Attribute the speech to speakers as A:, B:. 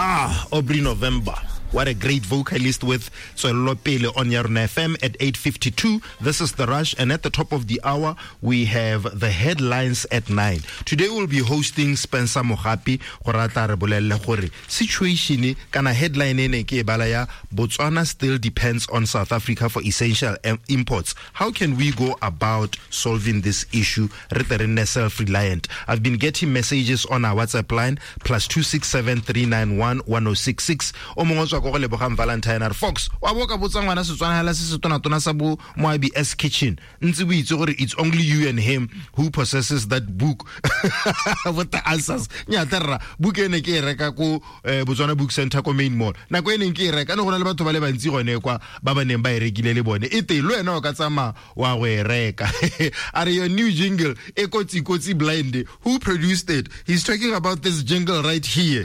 A: Ah, Aubrey November. What a great vocalist with Tswello Pele on Yarona FM at 8:52. This is The Rush, and at the top of the hour, we have the headlines at 9. Today we'll be hosting Spencer Mogapi gore a tla re bolelele gore situation kana headline e ne ke e bala ya Botswana still depends on South Africa for essential imports. How can we go about solving this issue? Re tle re nne self-reliant. I've been getting messages on our WhatsApp line plus 267 391 1066. O mongwe o tswa ko go Lebogang Valentine a re, "Fox, wa bo ka botsa ngwana Setswana hela se se tonatona sa bo Moabi S Kitchen ntse bo itse gore it's only you and him who possesses that book with the answers." Nyata rra, book ene ke e reka ko Botswana Book Center ko Main Mall. Nako e neng ke e reka, ne go na le batho ba le bantsi gone kwa ba ba neng ba e rekile le bone. E teng, le wena o ka tsamaya wa go e reka. A re, "Your new jingle e kotsi kotsi blind. Who produced it?" He's talking about this jingle right here.